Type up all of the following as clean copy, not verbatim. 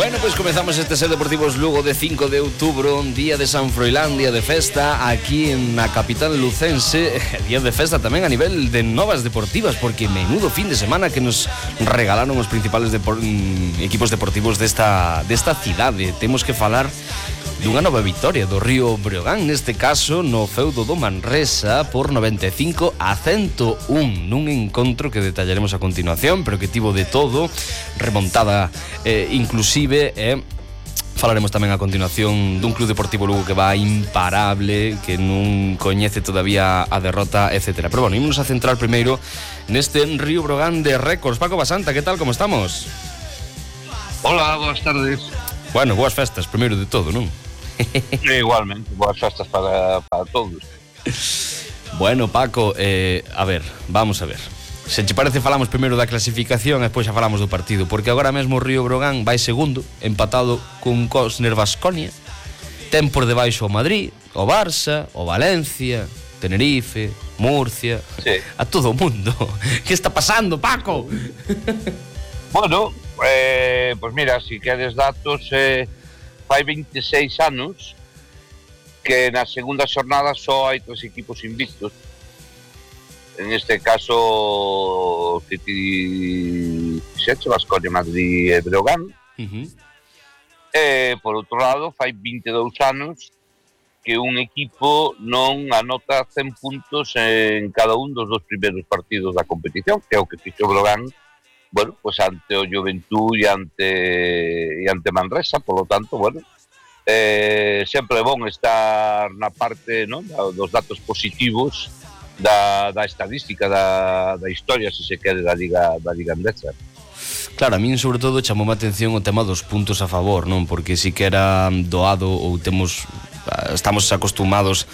Bueno, pois comezamos este Ser Deportivos Lugo de 5 de outubro, día de San Froilán, día de festa aquí na capital lucense, día de festa tamén a nivel de novas deportivas, porque menudo fin de semana que nos regalaron os principales equipos deportivos desta cidade. Temos que falar dunha nova vitoria do Río Breogán, neste caso no feudo do Manresa por 95-101, nun encontro que detallaremos a continuación, pero que tivo de todo, remontada inclusive, falaremos tamén a continuación dun club deportivo Lugo que va imparable, que non coñece todavía a derrota, etc. Pero bueno, ímonos a centrar primeiro neste Río Breogán de récords. Paco Basanta, que tal, como estamos? Hola, boas tardes. Bueno, boas festas, primeiro de todo, non? Igualmente, boas festas para todos. Bueno, Paco, a ver, vamos a ver. Se te parece, falamos primeiro da clasificación e despois xa falamos do partido, porque agora mesmo o Río Breogán vai segundo, empatado cun Cosner Baskonia. Ten por debaixo o Madrid, o Barça, o Valencia, Tenerife, Murcia, sí. A todo o mundo. Que está pasando, Paco? Bueno, pues mira, si queres datos, fai 26 anos que na segunda xornada só hai 3 equipos invictos. En este caso, que ti dixeche, Baskonia, Madrid e Breogán. Por outro lado, fai 22 anos que un equipo non anota 100 puntos en cada un dos primeiros partidos da competición, que é o que fixo Breogán, bueno, pues ante o Juventud e ante Manresa. Por lo tanto, bueno, sempre é bon estar na parte, non, dos datos positivos da estadística, da historia, se se quere, da Liga Endesa. Claro, a min sobre todo chamoume a atención o tema dos puntos a favor, non? Porque si que era doado ou estamos acostumados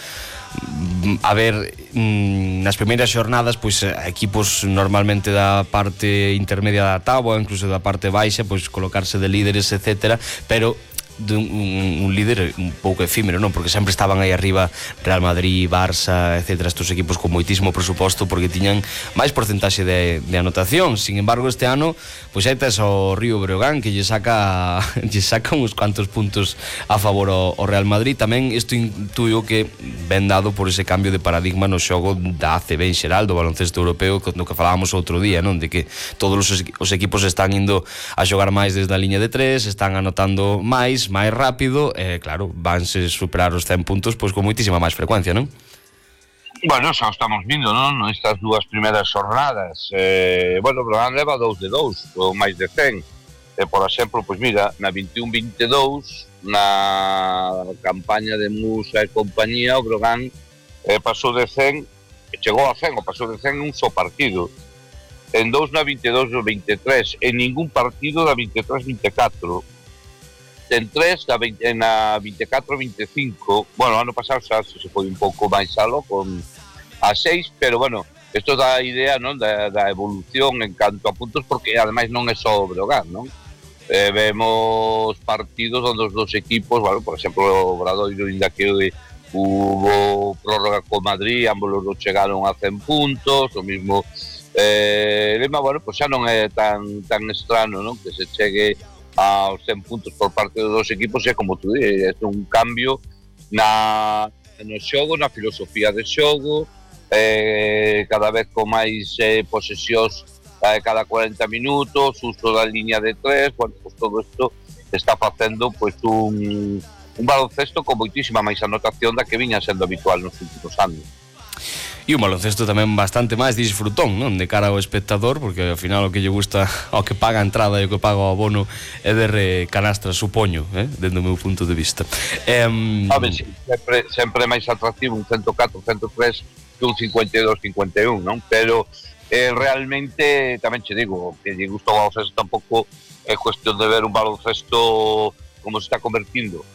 a ver nas primeiras xornadas pois equipos normalmente da parte intermedia da táboa, incluso da parte baixa, pois colocarse de líderes, etcétera, pero un líder un pouco efímero, non? Porque sempre estaban aí arriba Real Madrid, Barça, etcétera, estos equipos con moitísimo presuposto porque tiñan máis porcentaxe de anotación. Sin embargo, este ano pois aí tes o Río Breogán que lle saca uns cuantos puntos a favor ao Real Madrid. Tamén isto intuyo que ben dado por ese cambio de paradigma no xogo da ACB en xeral, do baloncesto europeo, no que falábamos outro día, non? De que todos os equipos están indo a xogar máis desde a liña de 3, están anotando máis rápido, claro, vanse superar os 100 puntos pois con moitísima máis frecuencia, non? Bueno, xa estamos vindo, non? Estas dúas primeiras xornadas, bueno, Breogán leva 2 de 2, ou máis de 100. Por exemplo, pois mira, na 21-22, na campaña de Musa e compañía, o Breogán pasou de 100, chegou a 100, ou pasou de 100 un só partido. En 2 na 22-23, en ningún partido da 23-24. En 3 na 24-25, bueno, ano pasado xa se foi un pouco máis algo con a 6, pero bueno, isto dá a idea, non, da evolución en canto a puntos, porque ademais non é só o Breogán, non? Vemos partidos onde os dos equipos, bueno, por exemplo, o Obradoiro, inda que hubo prórroga con Madrid, ambos os dos chegaron a 100 puntos, o mismo Lema, bueno, pues xa non é tan estrano, non, que se chegue aos 100 puntos por parte dos dos equipos, e como tú dices, é un cambio no xogo, na filosofía de xogo, cada vez con máis posesións cada 40 minutos, uso da liña de 3, bueno, pues todo isto está facendo pues un baloncesto con moitísima máis anotación da que viña sendo habitual nos últimos anos. E un baloncesto tamén bastante máis disfrutón, non? De cara ao espectador, porque ao final o que lle gusta ao que paga a entrada e o que paga o abono é ver canastras, supoño, dentro do meu punto de vista. Sí, sempre máis atractivo un 104, 103 que un 52, 51, non? Pero realmente, tamén che digo, que lle gusta o baloncesto tampouco é cuestión de ver un baloncesto como se está convertindo.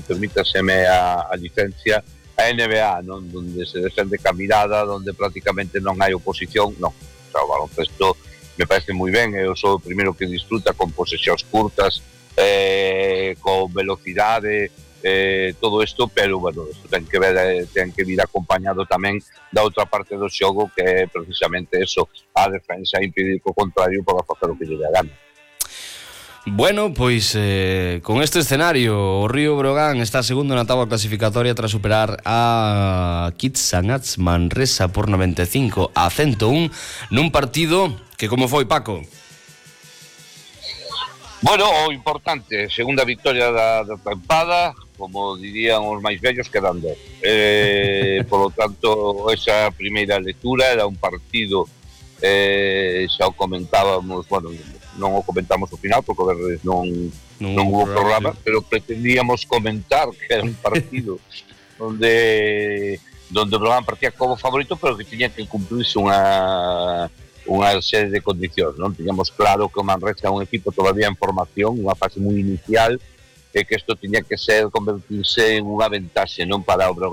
Permítaseme a licencia, a NBA, non? Donde se defende ca mirada, donde prácticamente non hai oposición, non. O sea, o baloncesto me parece moi ben, eu sou o primeiro que disfruta con posesións curtas, con velocidade, todo isto, pero, bueno, isto ten que vir acompañado tamén da outra parte do xogo, que é precisamente eso, a defensa, impedir que o contrario poda facer o que lle dá gana. Bueno, pois con este escenario o Río Breogán está segundo na táboa clasificatoria tras superar a Kitsangats Manresa por 95-101 nun partido que como foi, Paco? Bueno, o importante, segunda victoria da tempada, como dirían os máis vellos, quedando. Por lo tanto, esa primeira lectura era un partido, xa o comentábamos, bueno, non o comentamos ao final porque non hubo programa, pero pretendíamos comentar que era un partido onde o programa partía como favorito, pero que tiña que cumplirse unha serie de condicións, non? Tiñamos claro que o Manresa é un equipo todavía en formación, unha fase moi inicial, e que isto tiña que convertirse en unha ventaxe, non para o Breogán